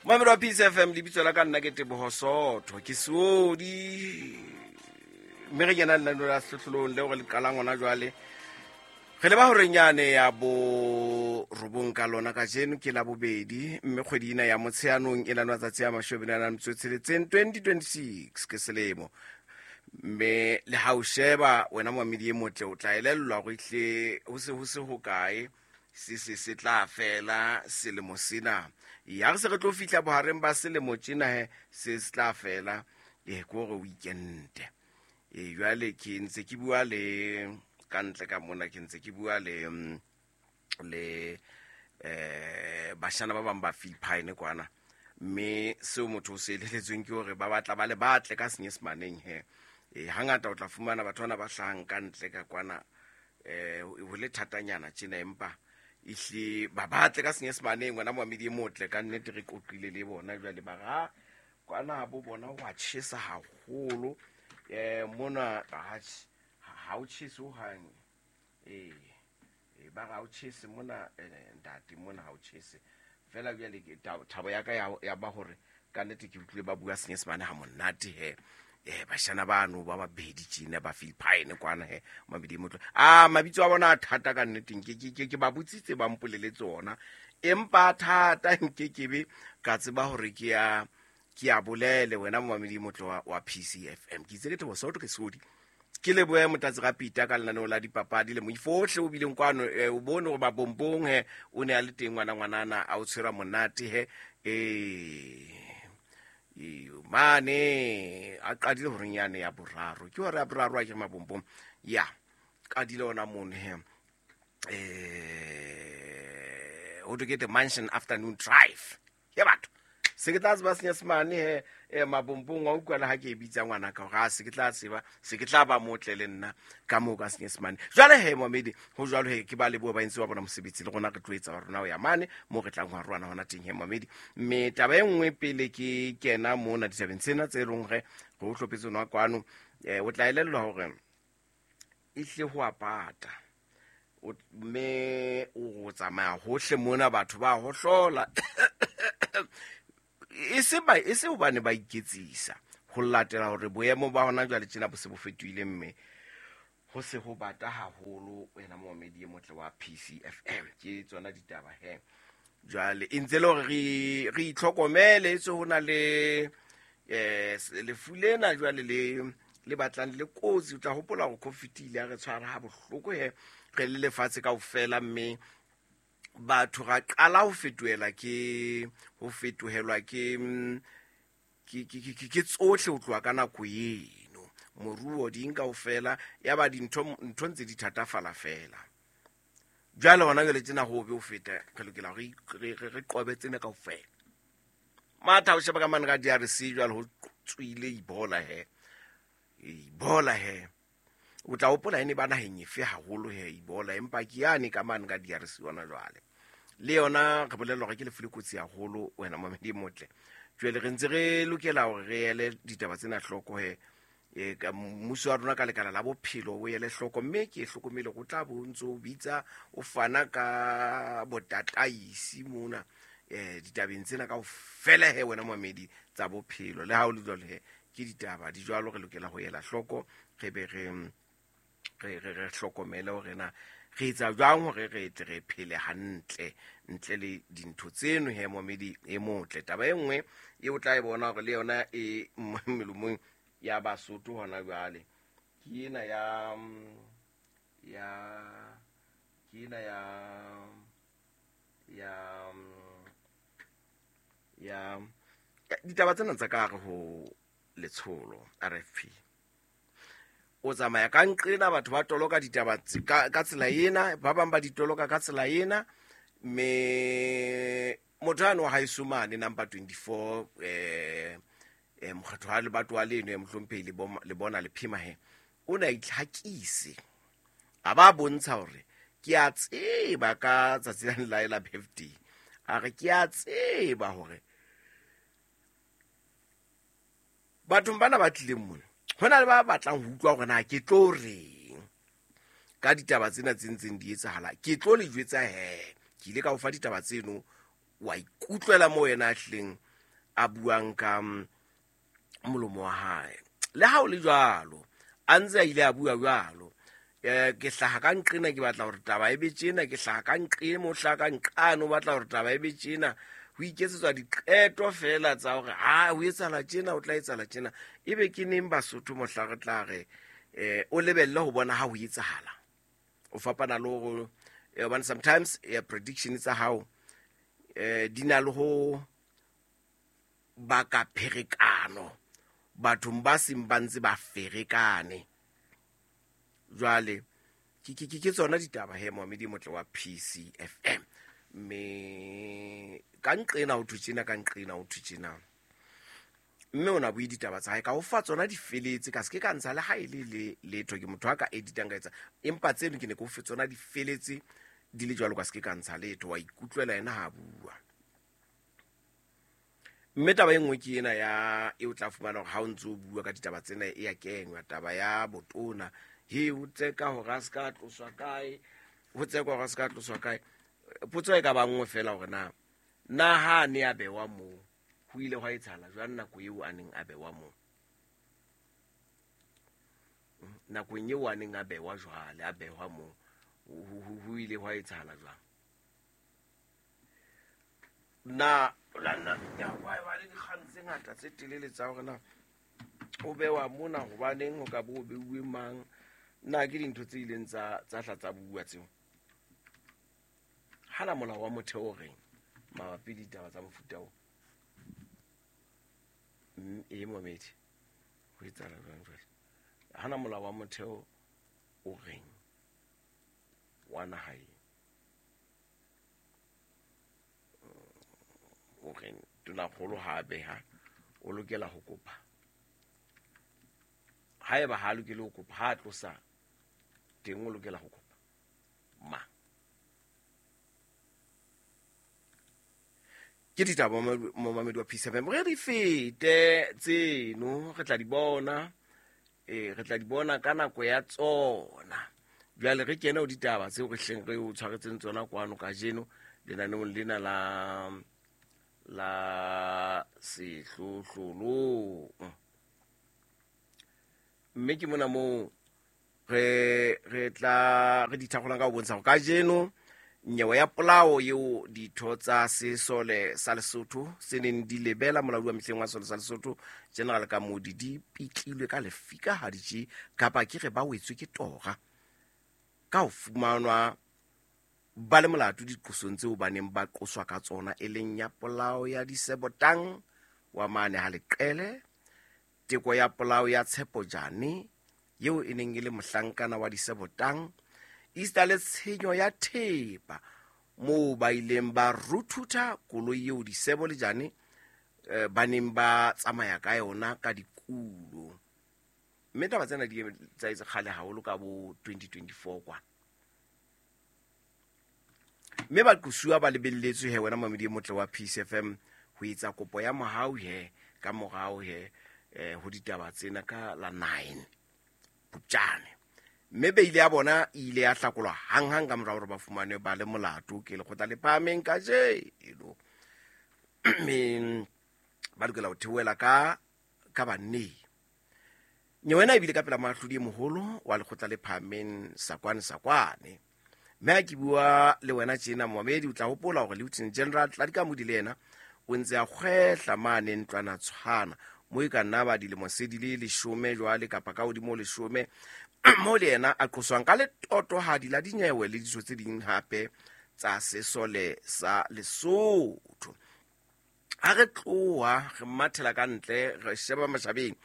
Momamedi wa Peace FM, lebitso la ka nna ke Teboho Sootho, ke Seodi, mme re kena lenaneo la sehlohlolong leo re le qalang hona jwale. Re leba horeng yane ya bo robong ka lona kajeno ke la bobedi, mme kgwedi ena ya Motsheanong e na le matsatsi a mashome a nang metso e tsheletseng, 2026 ke selemo. Mme le ha o sheba wena momamedi e motle, o tla elellwa hore ehlile ho se ho se hokae se se se tla fela selemo sena. Ya re se re tlo fihla bohareng ba selemo tjena he, se se tla fela, ke hore o ikente. E jwale ke ntse ke bua le ka ntle ka mona, ke ntse ke bua le bashana ba bang ba Philippine kwana, mme seo motho o se eleletsweng ke hore ba batla ba le batle ka Senyesemaneng he. Hangata o tla fumana batho bana ba hlahang ka ntle ka kwana, ho le thatanyana tjena, empa ehlile ba batle ka Senyesemaneng. Wena momamedi e motle, ka nnete re qoqile le bona jwale, ba ra kwana bo bona ho a tjhesa haholo. Mona atjhe, ha o tjhese hohang. Ba ra o tjhese mona, ntate, mona ha o tjhese fela. Jwale ke thabo ya ka ya ba hore ka nnete ke utlwile ba bua Senyesemane ha monate he. Bashana bano ba babedi tjena ba Philippine kwana he, mabedi e motle. A mabitso a bona a thata ka nnete, ke ba botsitse ba mpoleletse ona, empa thata nke ke be ka tseba hore ke ya bolele. Wena momamedi e motle wa PCFM, ke itse ke Thabo Sootho, ke Seodi, ke lebohe Motlatsi Rapita ka lenaneo la dipapadi le moifo ohle o bileng kwano. O bone hore babombong he o ne a le teng ngwana ngwanana a o tshwera monate he. Mane a qadile horeng yane ya boraro, ke hore ya boraro a ke mabombong ya qadile ona mono he. Ho thwe ke The Mansion Afternoon Drive ke batho se ke tla tseba Senyesemane he. Mabombong wa utlwa le ha ke e bitsa ngwana ka hore a se ke tla tseba, se ke tla ba motle le nna ka moo ka Senyesemane. Jwale he momedi, ho jwalo he, ke ba leboha ba entse wa bona mosebetsi, le rona re tlo etsa wa rona ho ya mane moo re tlang ho arohana hona teng he momedi. Mme taba e nngwe pele ke kena mona ditabeng tsena tse leng hore re o hlophetse nwa kwano, o tla elellwa hore ehlile ho a pata. Mme o tsamaya hohle mona, batho ba hohlola. E se ba, e se hobane ba iketsisa, ho latela hore boemo ba hona jwale tjena bo se bo fetohile, mme ho se ho bata haholo. Wena momamedi e motle wa PCFM, ke tsona ditaba he. Jwale e ntse le hore re itlhokomele, etswe ho na le lefu lena jwale le batlang le kotsi. O tla hopola hore COVID ile ya re tshwara ha bohloko he, re le lefatshe kaofela, mme batho ra qala ho fetohela ke, ho fetohelwa ke, ke, ke, ke, ke, ke tsohle ho tloha ka nako eno. Moruo ding kaofela, ya ba dintho, ntho ntse di thatafala fela. Jwale hona jwale tjena ho be ho feta, re lokela hore re qobe tsena kaofela. Matha o sheba ka mane ka DRC jwale ho tswile Ebola he. Ebola he. O tla hopola ene ba naheng efe haholo he Ebola, empa ke yane ka mane ka DRC hona jwale. Le yona re bolellwa hore ke lefu le kotsi haholo, wena momamedi e motle. Jwale re ntse re lokela hore re ele ditaba tsena hloko he. Ka mmuso wa rona ka lekala la bophelo o ele hloko, mme ke hlokomele hore o tla bo ntso o bitsa o fana ka botataisi mona, ditabeng tsena kaofela he, wena momamedi, tsa bophelo. Le ha o le jwalo he, ke ditaba di jwalo, re lokela ho ela hloko, re be re hlokomele hore na re etsa jwang hore re tle re phele hantle ntle le dintho tseno he, momamedi e motle. Taba e nngwe e o tla e bona hore le yona e melomong ya Basotho hona jwale, ke ena ya, ya, ke ena ya, ya, ya ditaba tsena tsa ka hare ho letsholo RFP. O tsamaya ka nqena, batho ba toloka ditaba ka tsela ena, ba bang ba di toloka ka tsela ena, mme motho yane wa haeso mane number 24, mokgatlo wa lebato wa leno ya mohlomphehi le bona le phema he, o ne a itlhakise, a ba bontsha hore ke a tseba ka tsatsi la la la birthday, a re ke a tseba hore bathong bana ba tlileng mona ho na le ba batlang ho utlwa hore na ke tlo reng ka ditaba tsena tse ntseng di etsahala. Ke tlo le jwetsa he, ke ile ka o fa ditaba tseno, wa ikutlwela moo yena a hlileng a buang ka molomo wa hae. Le ha o le jwalo, a ntse a ile a bua jwalo, ke hlaha ka nqena ke batla hore taba e be tjena, ke hlaha ka nqe mo hlaha ka nqane o batla hore taba e be tjena. Ho iketsetswa diqeto fela tsa hore ha ho etsahala tjena, ho tla etsahala tjena. Ebe ke neng Basotho mohla re tla re o lebelle ho bona ha ho etsahala? O fapana le hore hobane sometimes prediction tsa hao di na le ho baka pherekano bathong ba seng ba ntse ba ferekane. Jwale ke tsona ditaba he momamedi e motle wa PCFM. Mme ka nqena ho thwe tjena, ka nqena ho thwe tjena. Mme o na bue ditaba tsa hae ka ho fa tsona di feletse, ka se ke ka ntsha le ha e le le letho, ke motho a ka editang ka etsa, empa tseno ke ne ke o fe tsona di feletse di le jwalo, ka se ke ka ntsha letho, wa ikutlwela yena ha bua. Mme taba e nngwe ke ena ya e o tla fumana hore ha o ntse o bua ka ditaba tsena e ya kenywa taba ya botona, he o tseka hore a se ka tloswa kae, ho tsekwa hore a se ka tloswa kae. Potso e ka ba nngwe fela hore na na ha a ne a bewa moo ho ile hwa etsahala jwang nako eo a neng a bewa moo, nakong eo a neng a bewa jwale, a behwa moo, ho ile hwa etsahala jwang? Na lana ya wa ba le dikgang tse ngata tse telele tsa hore na o bewa mona hobaneng, ho ka bo beuwe mang, na ke dintho tse ileng tsa hla tsa bua tseo? Hana molao wa motheo o reng mabapi le ditaba tsa mofuta o? E momedi, ho etsahala jwang jwale? Hana molao wa motheo o reng wa naha e? O reng tonakgolo ha a beha o lokela ho kopa? Haeba ha a lokele ho kopa, ha a tlosa teng o lokela ho kopa ma? Ke ditaba momamedi wa PCFM, re di fete tseno, re tla di bona, re tla di bona ka nako ya tsona. Jwale re kene ho ditaba tseo re hleng re o tshwaretseng tsona kwano kajeno lenaneong lena la sehlohlolong. Mme ke mona moo re tla re di thakgolang ka ho bontsha hore kajeno nyewe ya polao eo ditho tsa sesole sa Lesotho se neng di lebela molaodi wa mehleng wa sesole sa Lesotho General Kamodi di pitlilwe ka lefika ha di tje, kapa ke re ba wetswe ke tora ka ho fumanwa ba le molato diqosong tseo ba neng ba qoswa ka tsona, e leng ya polao ya Disebotang wa mane ha Leqele, teko ya polao ya Tshepo Jane eo e neng e le mohlankana wa Disebotang, esita le tshenyo ya thepa moo ba ileng ba ruthutha koloi eo Disebo le Jane ba neng ba tsamaya ka yona ka dikulo. Mme taba tsena di tsa etse kgale haholo ka bo 2024 kwana. Mme baqosuwa ba lebelletswe he wena mamedi e motle wa PCFM ho etsa kopo ya mohau he ka morao he ho ditaba tsena ka la 9 Phupjane. Mme beile ya bona e ile ya hlakolwa hanghang ka mora hore ba fumane ba le molato ke lekgotla le phahameng kajeno. Mme ba lokela ho theohela ka banneng. Nyewe ena ebile ka pela moahlodi e moholo wa lekgotla le phahameng Sakwane Sakwane. Mme ha ke bua le wena tjena momamedi, o tla hopola hore Lieutenant General Tladi Kamodi le yena o ntse a kgwehla mane ntlwana tshwana mo e ka nna ba dilemo se di le 10 jwale kapa ka hodimo 10, mo le yena a qoswang ka letotohadi la dinyewe le ditho tse ding hape tsa sesole sa Lesotho. Ha re tloha re mathela ka ntle re sheba mashabeng,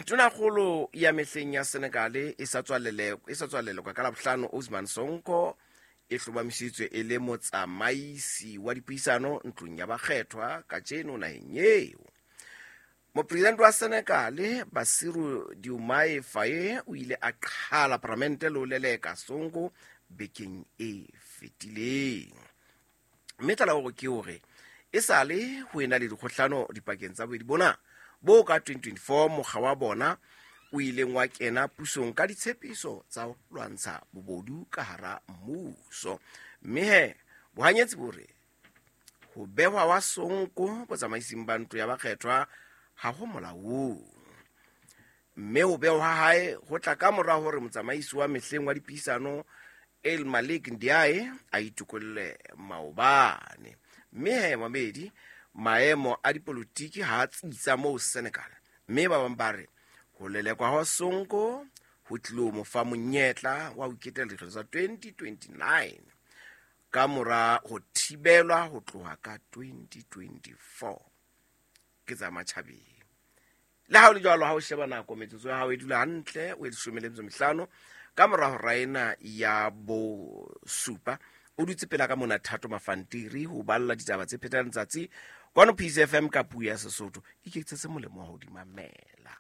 tonakgolo ya mehleng ya Senegal e sa tswalelekwa ka Labohlano, Ousmane Sonko e hlomamisitswe e le motsamaisi wa dipuisano ntlong ya bakgethwa kajeno naheng eo. Mopresidente wa Senegal Bassirou Diomaye Faye o ile a qhala paramente le ho leleka Sonko bekeng e fetileng. Mme tlaleho ke hore e sale ho ena le dikgohlano dipakeng tsa bobedi bona bo ka 2024 mokga wa bona o ileng wa kena pusong ka ditshepiso tsa ho lwantsha bobodu ka hara mmuso. Mme he bohanyetsi bo re Ho behwa wa Sonko botsamaising ba ntlo ya bakgethwa ha ho molaong, mme ho behwa ha hae ho tla ka mora hore motsamaisi wa mehleng wa dipuisano El Malik Ndiaye a itokolle maobane. Mme he mamedi, maemo a dipolotiki ha a tsitsa moo Senegal, mme ba bang ba re ho lelekwa ha Sonko ho tlilo mo fa monyetla wa ho iketela dikgetho tsa 2029 ka mora ho thibelwa ho tloha ka 2024 ke tsa matjhabeng. Le ha o le jwalo, ha o sheba nako, metsotso ya hao e dula hantle o e 15 ka mora hora ena ya bosupa. O dutse pela ka mona Thato Mafantiri ho balla ditaba tse phethang letsatsi kwano PCFM ka puo ya Sesotho. Iketsetse molemo wa ho di mamela.